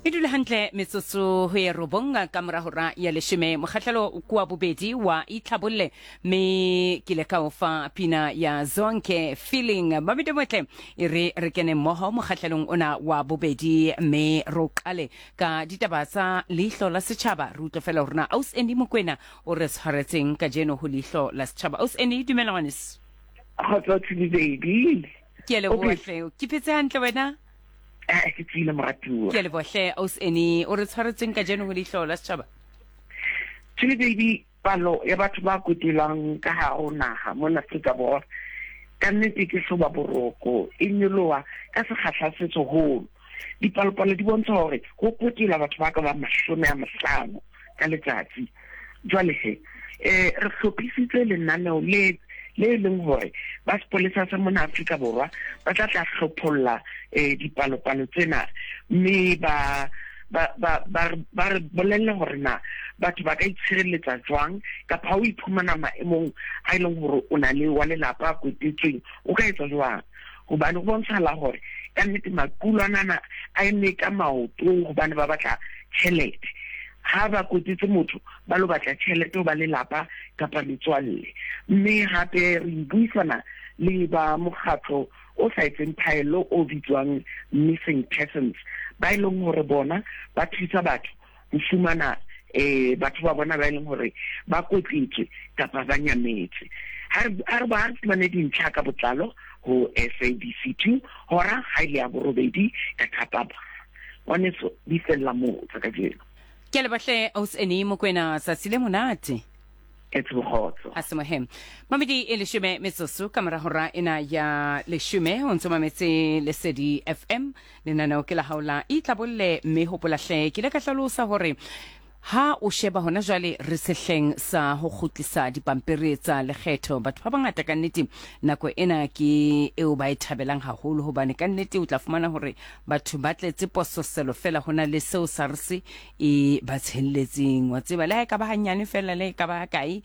E dule hantle metsotso ho ye robong ka mora hora ya leshome. Mokgahlelo ke wa bobedi wa Itlhabolle mme ke ile ka o fa pina ya Zonke Feeling. Mamedi motle e re re kene mmoho mokgahlelong ona wa bobedi mme re o qale ka ditaba tsa Leihlo la Setjhaba. Re utlwe fela hore na Aus Andy Mokwena o re tshwaretseng kajeno ho Leihlo la Setjhaba. Aus Andy, dumela ngwaneso. Kgotso Tshidi baby. Ke a leboha hle. Ke phetse hantle wena? Eh, ke tsile moratuwa. Ke a leboha hle Aus Annie. O re tshwaretseng kajeno ho Leihlo la Setjhaba? Tshidi baby, palo ya batho ba kotelwang ka hare ho naha mona Afrika Borwa ka nnete ke hloba boroko, e nyoloha ka sekgahla se seholo. Dipalopalo di bontsha hore ho kotelwa batho ba ka bang 50 ka letsatsi. Jwale he, eh, re hlophisitse lenaneo le le e leng hore ba sepolesa sa mona Afrika Borwa ba tla tla hlopholla eh, dipalopalo tsena mme ba ba ba ba ba re bolelle hore na batho ba ka itshireletsa jwang kapa ha o iphumana maemong a e leng hore o na le wa lelapa a kwetetsweng o ka etsa jwang. Hobane ho bontshahala hore ka nnete makulwanana a eme ka maoto hobane ba batla tjhelete. Ha ba kwetetse motho ba lo batla tjhelete ho ba lelapa kapa metswalle. Mme hape re buisana le ba mokgatlo o sa etseng phaello o bitswang Missing Persons, ba e leng hore bona ba thusa batho ho fumana eh batho ba bona ba e leng hore ba kwetletswe kapa ba nyametse. Ha re ba fumane dintlha ka botlalo ho SABC 2 hora ha ile ya borobedi ka thapama. Ngwaneso di fella moo tsa kajeno. Ke a leboha hle Aus Annie Mokwena, tsatsi le monate. Etse bokgotso. A se mohe. Mamedi e leshome metsotso ka mora hora ena ya leshome o ntso mametse Lesedi FM. Lenaneo ke la hao la Itlabolle mme hopola hle ke ile ka hlalosa hore ha o sheba hona jwale re sehleng sa ho kgutlisa dipampiri tsa lekgetho. Batho ba bangata ka nnete nako ena ke eo ba e thabelang haholo hobane ka nnete o tla fumana hore batho ba tletse pososelo fela ho na le seo SARS e ba tshelletseng. Wa tseba le ha e ka ba hanyane fela le e ka ba kae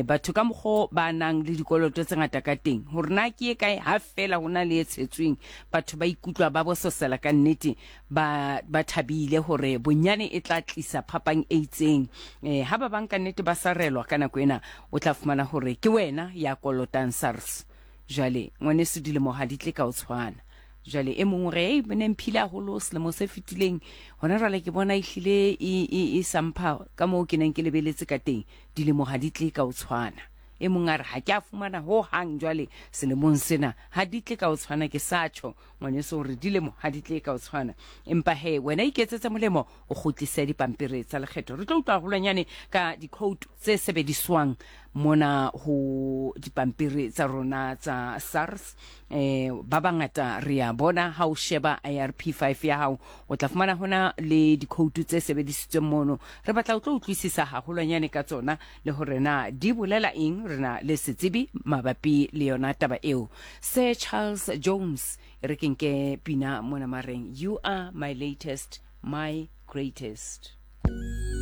batho ka mokgo ba nang le dikoloto tse ngata ka teng hore na ke e kae ha fela ho na le e tshetsweng batho ba ikutlwa ba bososela ka nnete ba ba thabile hore bonyane e tla tlisa phapang e itseng. Ha ba bang ka nnete ba sarelwa ka nako ena, o tla fumana hore ke wena ya kolotang SARS. Jwale ngwaneso dilemo ha di tle ka o tshwana. Jwale e mong o re, ei, ne mphile haholo selemo se fetileng, hona jwale ke bona ehlile e, e, e sa mpha ka moo ke neng ke lebeletse ka teng. Dilemo ha di tle ka o tshwana. E mong a re, ha ke a fumana ho hang jwale selemong sena, ha di tle ka o tshwana. Ke sa tjho ngwaneso hore dilemo ha di tle ka o tshwana. Empa he, wena iketsetse molemo o kgutlise dipampiri tsa lekgetho. Re tlo utlwa haholwanyane ka dikhoutu tse sebediswang mona ho dipampiri tsa rona tsa SARS. Ba bangata re a bona ha o sheba IRP5 ya hao, o tla fumana hona le dikhoutu tse sebedisitsweng mono. Re batla o tlo utlwisisa haholwanyane ka tsona le hore na di bolela eng. Re na le setsebi mabapi le yona taba eo, Sir Charles Jones. E re ke nke pina mona mareng, You are my latest, my greatest.